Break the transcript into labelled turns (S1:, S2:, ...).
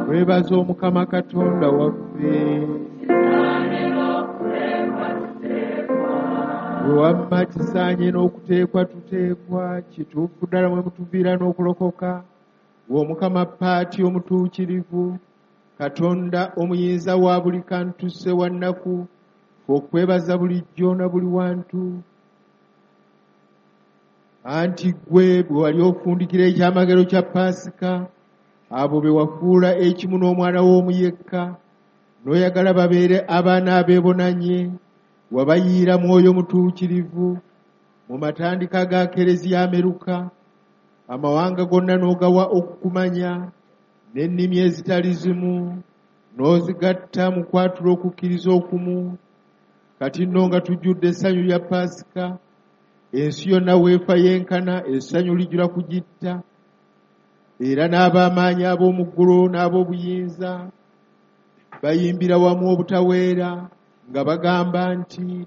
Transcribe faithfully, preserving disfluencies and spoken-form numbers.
S1: Twebaza Omukama Katonda waffe. Bwe wamma kisaanye n'okuteekwa tuteekwa, kituufu ddala mwe mutuviira n'okulokoka. Ggwe Omukama Paati omutuukirivu, Katonda omuyinza wa buli kantu Ssewannaku, ffe okwebaza bulijjo na buli wantu. Anti ggwe bwe wali ofundikira ekyamagero kya Paasika, abo be wafuula ekimu n'omwana w'omu yekka, n'oyagala babeere abaana abeebonanye, wabayiira Mwoyo Mutuukirivu mu matandika ga Kereziya Ameruka, amawanga gonna n'ogawa okukumanya, n'ennimi ezitali zimu, n'ozigatta mu kwatula okukkiriza okumu. Kati nno nga tujjudde essanyu lya Paasika, ensi yonna weefa yenkana, essanyu lijjula kugitta, era n'ab'amaanyi ab'omu ggulu n'ab'obuyinza bayimbira wamu obutaweera nga bagamba nti